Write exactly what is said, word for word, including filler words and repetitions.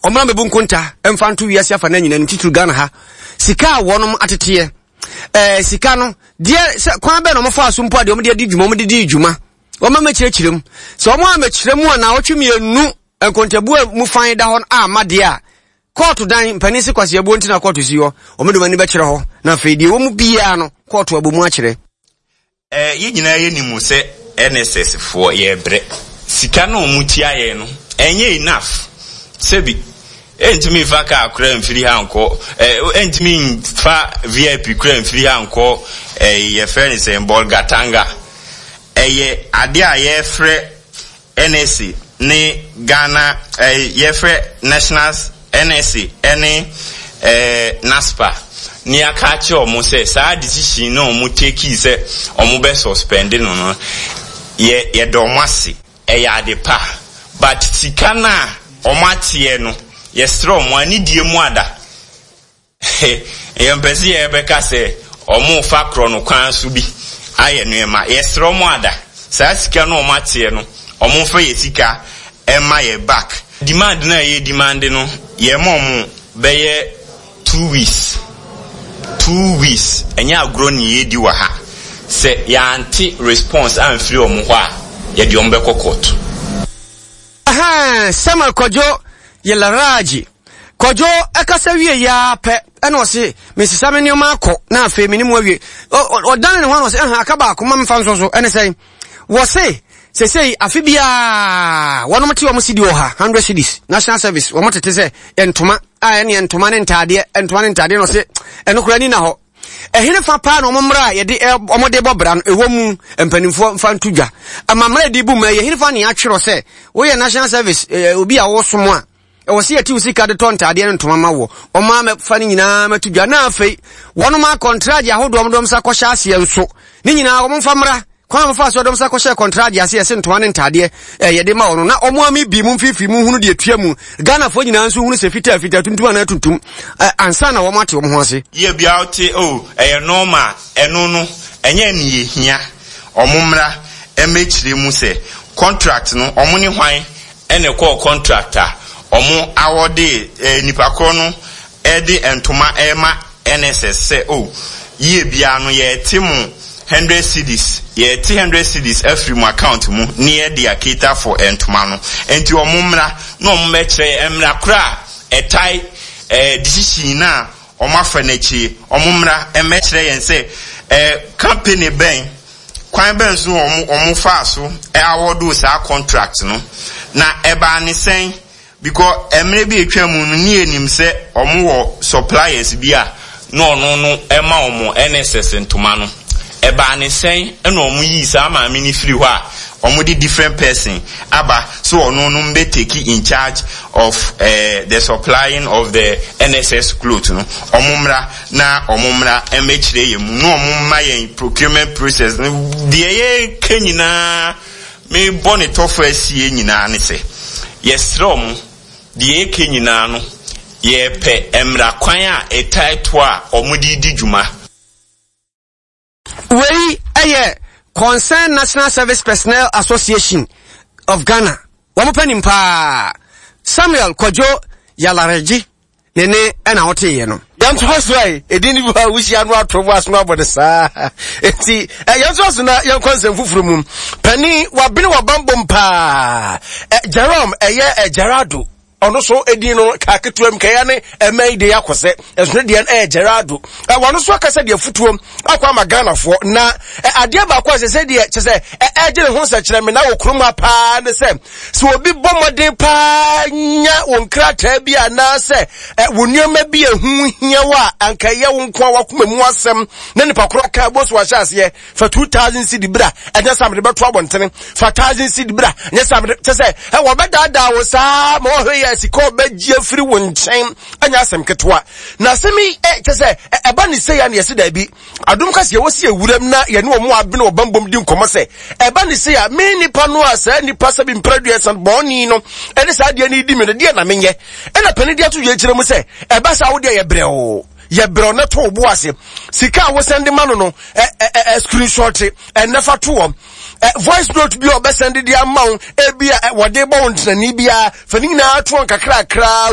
Ɔmmra mmɛbu nkonta mfa nto wiase afa no nyinaa no, titiri Ghana ha. Sika a wɔnom ateteɛ, ɛɛ sika no deɛ, sɛ kwan bɛn na wɔn so mpo a deɛ wɔn de adi dwuma, wɔn de di dwuma, wɔn amɛkyerɛkyerɛ mu. Sɛ wɔn amɛkyerɛ mu a, na awɔtwe mmienu nkontabu a mu fan da hɔ ama deɛ a kɔɔto dan mpanin si kwasi abuo nti na kɔɔto si hɔ, wɔn de wɔn ani bɛkyerɛ hɔ, na afei deɛ wɔn mu biara no, kɔɔto abɔ mu akyerɛ. Ɛɛ yɛn nyinaa yɛ nim sɛ N S S foɔ yɛbrɛ. Sika no a wɔn tua yɛn no ɛnyɛ enough. Sɛbi, ɛntumi nfa kaa kora mfiri ha nkɔ, ɛɛ ɛntumi nfa V I P kora mfiri ha nkɔ. Ɛɛ yɛfrɛ no sɛ Bolgatanga. Ɛyɛ adeɛ a yɛfrɛ N S A ne Ghana, ɛɛ yɛfrɛ National N S A ɛne ɛɛ NASPA ne aka akyerɛ wɔn sɛ saa decision na wɔn take sɛ wɔn bɛ suspend no no yɛ yɛda wɔn ase, ɛyɛ ade pa, but sika no a wɔn ateɛ no, yɛsrɛ wɔn anidie mu ada. Yɛmpɛ sɛ yɛbɛka sɛ wɔn fa korɔ no kwan so bi ayɛ nneɛma. Yɛsrɛ wɔn ada, saa sika no wɔn ateɛ no, wɔn mfa yɛ sika ɛma yɛ back. Demand no a yɛ demand no, yɛma wɔn bɛyɛ two weeks, two weeks. Ɛnyɛ agorɔ ne yɛdi wɔ ha. Sɛ yɛante response amfiri wɔn hɔ a, yɛde wɔn bɛkɔ court. Samuel Kwadwo Yelaragye Kwadwo ɛkasa wie yaa pɛ, ɛna ɔse mesesa me nneɛma akɔ, na afei me ne mu awie. Ɔdane ne ho na ɔse ɛha aka baako ma memfa nso so. Ɛne sɛn? Wɔse sesei afe biaa wɔnom te wɔn sidi ɔha, hundred cedis, national service wɔn tete sɛ ntoma a ɛne ntoma ne ntaadeɛ, ntoma ne ntaadeɛ, na ɔse ɛno koraa ni na hɔ ɛhene fa paa na ɔmo mmra a yɛde ɔmo de bɔ bra no ɛwɔ mu. Mpanimfoɔ mfa nto dwa amammerɛ de bu mu ɛyɛ hene fa ne atwerɛ sɛ woyɛ national service ɛɛ obi a wɔsom a ɛwɔ sɛ yɛte wo sika de tɔ ntaadeɛ ne ntoma ma wɔ. Ɔmo amɛfa no nyinaa mɛto dwa, na afei wɔnom akɔntragye ahodoɔ ɔmo dɔm sa kɔhyɛ aseɛ nso ne nyinaa wɔn mfa mmra kwan a wɔfa so dɔm sa kɔhyɛ kɔntragye ase yɛsɛ ntoma ne ntaadeɛ ɛɛ yɛde ma wɔn, na ɔmo ami bi mu mfimfini mu hunu deɛ tua mu. Ghanafoɔ nyinaa nso hunu sɛ fitaa fitaa, tuntum anaa tuntum, ɛ ansa na wɔn ate wɔn ho ase. Yɛ bia wote o, ɛyɛ normal. Ɛno no ɛnyɛ ne yɛhia. Ɔmo mmra ɛmɛkyerɛ mu sɛ contract no, ɔmo ne hwan ɛna ɛkɔɔ contract a ɔmo awɔde ɛɛ nipa korɔ no ɛde ntoma ɛma N S S sɛ o yie bia no yɛte mo hundred cedis, yɛte hundred cedis afiri mu account mu ne yɛde a cater for ntoma no. Nti ɔmo mmra na ɔmo bɛkyerɛ yɛ mmra kora a ɛtae ɛɛ decision na ɔmo afa n'akyi. Ɔmo mmra ɛmɛkyerɛ yɛn sɛ ɛɛ company bɛn, kwan bɛn so ɔmo ɔmo faa so ɛawɔdo saa contract no, na ɛbaa ne sɛn, because mmerɛ bi atwa mu no ne yɛnim sɛ ɔmo wɔ suppliers bi a na ɔno no ɛma ɔmo N S S ntoma no. Ɛbaa ne sɛn ɛna ɔmo yii saa maame no firi hɔ a ɔmo de different person aba so ɔno no mbɛ take in charge of uh, the supplying of the N S S cloth no? Ɔmo mmra na ɔmo mmra ɛmɛkyerɛ yɛn mu na ɔmo mma yɛn procurement process no. Deɛ yɛka nyinaa, mebɔ ne tɔfo asie nyinaa ne sɛ yɛsrɛ ɔmo, deɛ yɛka nyinaa no, yɛpɛ mmara kwan a ɛtae to a ɔmo de di dwuma. Wei ɛyɛ Concerned National Service Personnel Association of Ghana wɔn panin paa, Samuel Kwadwo Yalaregye ne ne ɛna wɔteeɛ no. Yɛntoa so a ɛdin no bi hɔ a wohyia no ato bo aso no abɔ ne saa. Enti yɛntoa so na yɛnkɔ nsɛm foforɔ mu. Pani wabene wabambom paa, Jerome ɛyɛ Gerardo, ɔno so edin no kaa ketewa mu kɛyɛ ne ɛmɛn yi de akɔ sɛ ɛsono deɛ ɛyɛ Gerardo. Wɔn nso akasa deɛ futuo akɔ ama Ghanafoɔ, na adeɛ baako a sɛ sɛ deɛ kyɛ sɛ ɛgye ne ho nsɛkyerɛ na wɔ kurom ha paa ne sɛ sɛ obi bɔ mmɔden paa nya wɔn nkrataa bi anaasɛ wɔn nneɛma bi ehu hia wɔ a anka ɛyɛ wɔn nko a wakoma mu asɛm na nipa koro aka bɔ so ahyɛ aseɛ fa two thousand cedi bra, ɛnyɛ sɛ amede bɛto abɔntene, fa thousand cedi bra, ɛnyɛ sɛ amede kyɛ sɛ ɛwɔ bɛdaadaa wo saa ma wɔhwɛ yɛ sika ɔbɛgye afiri wo nkyɛn. Ɛnyɛ asɛm ketewa na asɛm yi ɛ kyɛ sɛ ɛba ne sɛ ya ne yɛsi daabi. Adom kasi yɛwɔ si ewuram na yɛne wɔn abene wɔ bambom di nkɔmɔ sɛ ɛba ne sɛ ya me nipa no a saa nipa sɛ bi mpere san bɔɔni no ɛne saa adeɛ no di mi no deɛ na menyɛ. Ɛna panin de ato yɛ kyerɛ mu sɛ ɛba saa wo deɛ yɛ brɛoo, yɛbrɛ na to wo bo ase. Sika a wosɛnde ma no no, ɛ ɛ ɛ screenshot ɛnɛ fa to wɔm, ɛ voice note bi a ɔbɛsɛnde de ama wo, ebi a wɔde bɔ wo ntenani biara, fa ne nyinaa to wɔn kakrakra.